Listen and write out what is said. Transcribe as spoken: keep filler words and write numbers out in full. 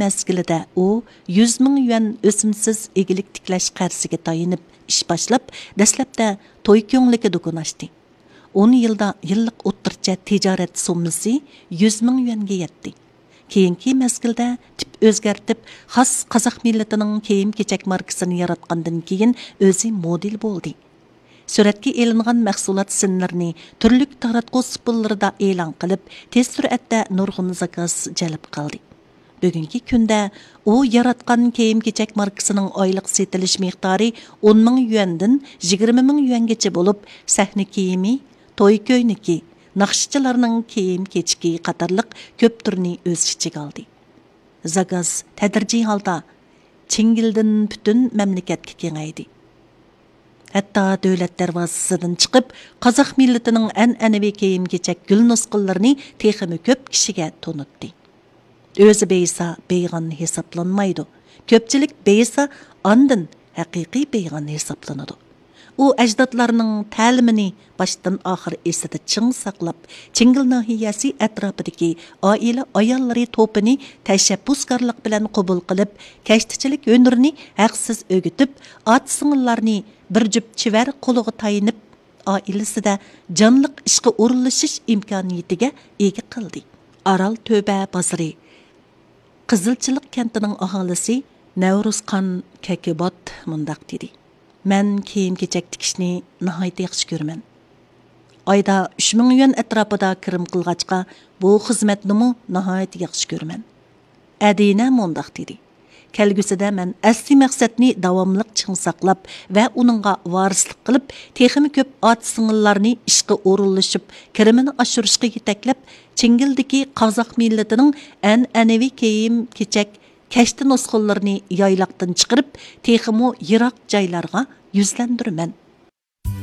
مەزگىلىدە ئۇ يۈز مىڭ يۈەن ئۆسۈمسىز ئىگىلىك تىكلەش قەرزىگە تايىنىپ ئىش باشلاپ، دەسلەپتە توي كۆڭلىكى دۇكان ئاچتى. ئون يىلدا يىللىق ئوتتۇرىچە تىجارەت سوممىسى يۈز مىڭ يۈەنگە يەتتى. كېيىنكى مەزگىلدە تىپ ئۆزگەرتىپ، خاس قازاق مىللىتىنىڭ كىيىم-كېچەك ماركىسىنى ياراتقاندىن كېيىن، ئۆزى مودېل بولدى. سۈرەتكە ئېلىنغان مەھسۇلات سىنلىرىنى تۈرلۈك تاراتقۇ سۇپىلىرىدا ئېلان قىلىپ، تېز سۈرئەتتە نۇرغۇن زاكاز جەلپ قىلدى. بۈگۈنكى كۈندە ئۇ ياراتقان كىيىم-كېچەك ماركىسىنىڭ ئايلىق سېتىلىش مىقدارى ئون مىڭ يۈەندىن يىگىرمە مىڭ يۈەنگىچە بولۇپ، سەھنە كىيىمى، توي كۆينىكى، ناخشىچىلارنىڭ كىيىم-كېچىكى قاتارلىق كۆپ تۈرنى ئۆز ئىچىگە ئالدى. زاكاز تەدرىجىي ھالدا چىڭگىلدىن پۈتۈن مەملىكەتكە كېڭەيدى. ھەتتا دۆلەت دەرۋازىسىدىن چىقىپ، قازاق مىللىتىنىڭ ئەنئەنىۋى كىيىم-كېچەك گۈل نۇسخىلىرىنى تېخىمۇ كۆپ كىشىگە تونۇتتى. ئۆزى بېيىسا بېيىغان ھېسابلانمايدۇ. كۆپچىلىك بېيىسا، ئاندىن ھەقىقىي بېيىغان ھېسابلىنىدۇ. ئۇ ئەجدادلارنىڭ تەلىمىنى باشتىن ئاخىر ئېسىدە چىڭ ساقلاپ، چىڭگىل ناھىيەسى ئەتراپىدىكى ئائىلە ئاياللىرى توپىنى تەشەببۇسكارلىق بىلەن قوبۇل قىلىپ، كەشتىچىلىك ھۈنىرىنى ھەقسىز ئۆگىتىپ، ئاچا-سىڭىللارنى بىر جۈپ چېۋەر قولىغا تايىنىپ، ئائىلىسىدە جانلىق ئىشقا ئورۇنلىشىش ئىمكانىيىتىگە ئىگە قىلدى. ئارال تۆبە بازىرى، قىزىلچىلىق كەنتىنىڭ ئاھالىسى نەۋرۇزخان كەكىبات مۇنداق دېدى: مەن كىيىم-كېچەك تىكىشنى ناھايىتى ياخشى كۆرىمەن. ئايدا ئۈچ مىڭ يۈەن ئەتراپىدا كىرىم قىلغاچقا، بۇ خىزمەتنىمۇ ناھايىتى ياخشى كۆرىمەن. ئەدىنە مۇنداق دېدى: كەلگۈسىدە مەن ئەسلىي مەقسەتنى داۋاملىق چىڭ ساقلاپ ۋە ئۇنىڭغا ۋارىسلىق قىلىپ، تېخىمۇ كۆپ ئاچا-سىڭىللارنى ئىشقا ئورۇنلىشىپ، كىرىمىنى ئاشۇرۇشقا يېتەكلەپ، چىڭگىلدىكى قازاق مىللىتىنىڭ ئەنئەنىۋى كىيىم-كېچەك، كەشتە نۇسخىلىرىنى يايلاقتىن چىقىرىپ، تېخىمۇ يىراق جايلارغا يۈزلەندۈرىمەن.